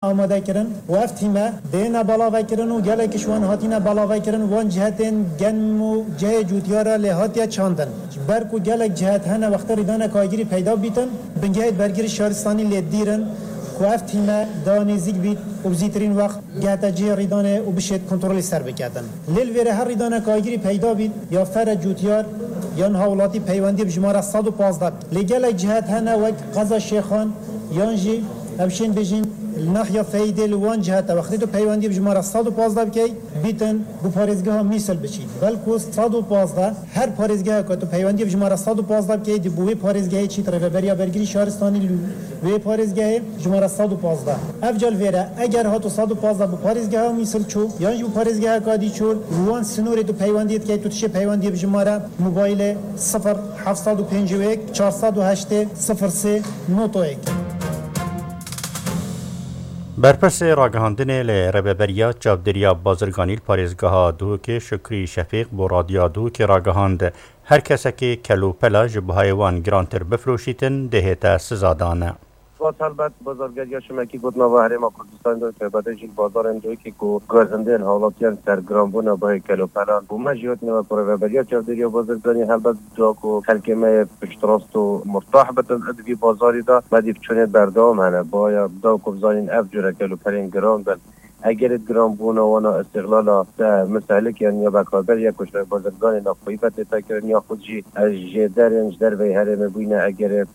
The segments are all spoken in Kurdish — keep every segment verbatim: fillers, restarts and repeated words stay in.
amade kirin û ev tîme dêne belavekirin û gelek ji wan hatine belavekirin, wan cihetên genm û cihê cûtiyara lê hatiye çandin. Ji ber ku gelek cihet hene wextê rîdane kagirî peyda bîtin, bingehê bergirî şaristanî lê dîr in ku ev tîme da nêzîk bît û bi zîtirîn wext gehte cihê rîdanê û bişêt kontrolê ser biketin. Lê li vêre her rîdane kagirî peyda bît, ya fere cûtiyar yan hawlatî peywendiyê bi jimara sed û pazdeh bike. Lê gelek cihet hene wek qeza Şêxan yan jî em şên bêjin li nahiya Feyîdê li wan cihete wextê tu peywendiyê bi jimara sed û pazdeh bikey, bîtin bi parêzgeha Mîsil biçî. Belku sed û pazdeh, her parêzgeheka tu peywendiyê bi jimara sed û pazdeh bikey, di bo wê parêzgehê çît rêveberiya bergirî şaristanî li wê parêzgehê jimara sed û pazdeh. Ev cal vêre, eger hato sed û pazdeh bi parêzgeha Mîsil çû, yan jî bi parêzgeha Kadî çû, li wan sinorê tu peywendiyê dikey, tu dişê peywendiyê bi jimara mobaylê sifir heft sed û pêncî û yek çar sed û heştê sifir sê noto yek. Berpirsê ragihandinê li Rêveberiya Çavdêriya Bazirganî li parêzgeha Duhokê Şukrî Şefîq bo Radyoya Duhokê ragihand, her kesekê kelopela ji bihayê wan girantir bifiroşîtin, dê hête sizadan. Vat helbet bazargeriya şimekî got nava Herêma Kurdistanê de taybetê jî li bazarên Duhokê ku gazindên hawlatiyan ser giranbûna bihayê kelopelan û me jî hotine we ku Rêveberiya Çavdêriya Bazirganî helbet da ku xelkê me yê piştrast û murtah bitin di vî bazarî de, me dî biçûnê berdewam hene. Baya da ku bizanîn ev cure kelopelên giran bin. Egerê giranbûna wana îstîxlala te mistehlike yan ya bekarber ya ku ji rêbazirganê navxweyî ve tê vekirin ya xwe jî ez jêderên ji derveyî herêmê bûyne egerê,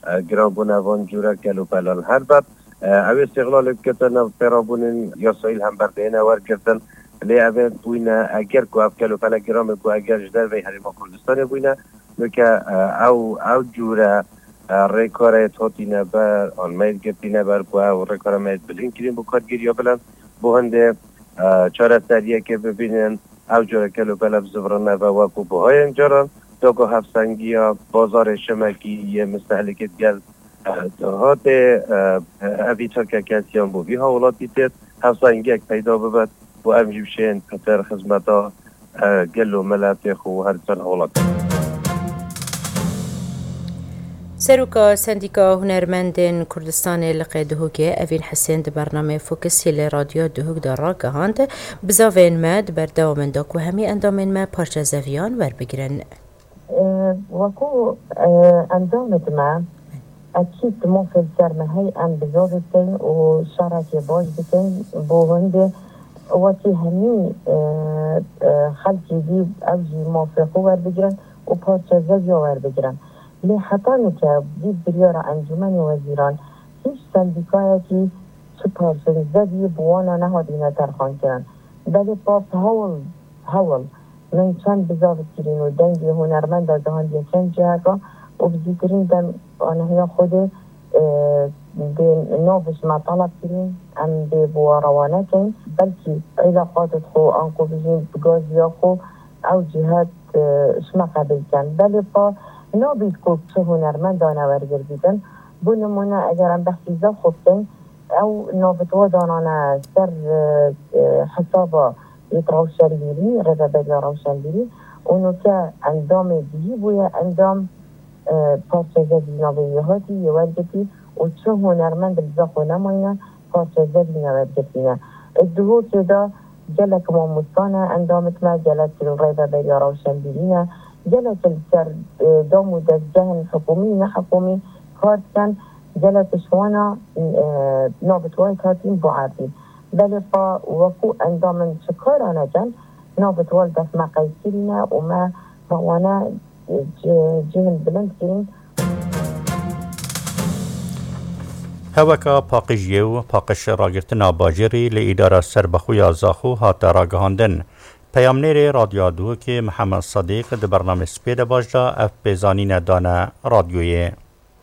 e, giranbûna van cûre kelopelan. Helbet, e, ew îstîxlalê bikete nav pêrabûnên yasayî li hember dihêne wergirtin. Lê ev ê bûyne eger ku ev kelopele giran be ku eger ji derveyî Herêma Kurdistanê bûyne, Weke, e, ew, ew cûre, e, rêkara yê hatîne ber, an me yê girtîne ber ku ew rêkara me yê bilind kirîn bo kargêriya bilind. Bo hindê, e, çareseriyekê bibînin, ew cûre kelopele bizivirine ve wekû buhayên caran. Dogo hevsengiya bazarê şimekî yê mistehlîkê digel, e, hatê, e, evî çirkekesiyan bo vî hawlatî têt hevsengiyek peyda bibet. Û em jî bişên pitir xizmeta, e, gel û miletê xwe û her ser hawlat. Seroka Sendîka Hunermendên Kurdistanê Liqê Duhokê Evîn Hisên di bernameyê Fokisî li Radyoya Duhok de ragihand, bizavên me di berdewamên de ku hemî endamên me parçe zeviyan werbigirin. Wekû endamê me, ekîd mafê li ser me hey em bizavê bikeyn û şerekê baş bikeyn bo hindê wekî hemî xelkî dî ew jî mafê xwe werbigirin û parçe zeviya werbigirin. Lê heta nûke vî biryara Encûmenê Wezîran hîç sendîkayekî çi parçe zevî bi wana nehatîne terxankirin. Belê pas hewl, hewl. Min çend bizav kirîn û dengê hunermenda gihandiye çend ciheka û bi zîtirîn dem anihiya Xwedê, e, dê nav ji me teleb kirîn, em dê bi wa rewa nekeyn. Belkî îlaqatê xwe an ku bijîn bi gaziya xwe ew cihet, e, ji me qebîl ken. Belê pa nabît ku çi hunermendane wergir bîtin. Bo nimûne eger em behsî Zaxo bikin, ew navitwa danane ser, e, e, hesaba yê rewşenbîrî, rêveberiya rewşenbîrî û nûke endamê dihî bûye endam, e, parçe zevî navê wî hatî yê wergirtî û çi hunermend li Zaxo nemayne parçe zevî newergirtîne. Di Duhokê de gelek mamosta ne endamê me, gelek li rêveberiya rewşenbîrî ne, gelek li ser, e, dam û dezgehên hikûmî, nehikûmî kar dikin, gelek ji wana, e, navitwayek hatîn bo erdî. Belê pa wekû endam in çi kara nekin, navitwa li dest me qeyd kirîne û me bi wana, e, ci-, cihên bilind kirîn. Heweka paqijiyê û paqij ragirtina bajêrî li Îdara Serbixwe ya Zaxo hate ragihandin. Peyamnêrê Radyoya Duhokê Mihemed Sedîq di bernamê Spêde Baş de ev pêzanîne dane radyoyê.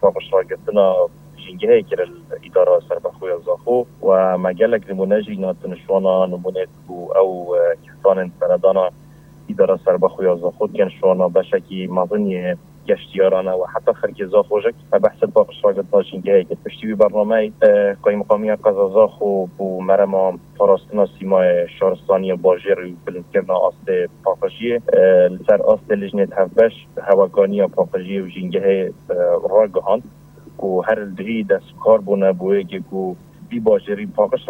Paqij ragirtina jîngehê kir li Îdara Serbixwe ya Zaxo û me gelek nimûne jî natin ji wana nimûnê ku ew, e, kesanên seredana Îdara Serbixwe ya Zaxo dikin ji wana beşekî mezin yê geştiyaran e û heta xelkê Zaxo jî me behsê paqij ragirtina jîngehê kir. Piştî wî bernameyê, e, Qaymeqamiya Qeza Zaxo bo merema parastina sîmayê şaristaniya bajêr û bilindkirina astê paqijiyê, e, li ser astê lijnê hevbeş hewekaniya paqijiyê û jîngehê, e, ragihand ku her li duhî dest bi kar bûne bo yekê ku vî bajêrî paqij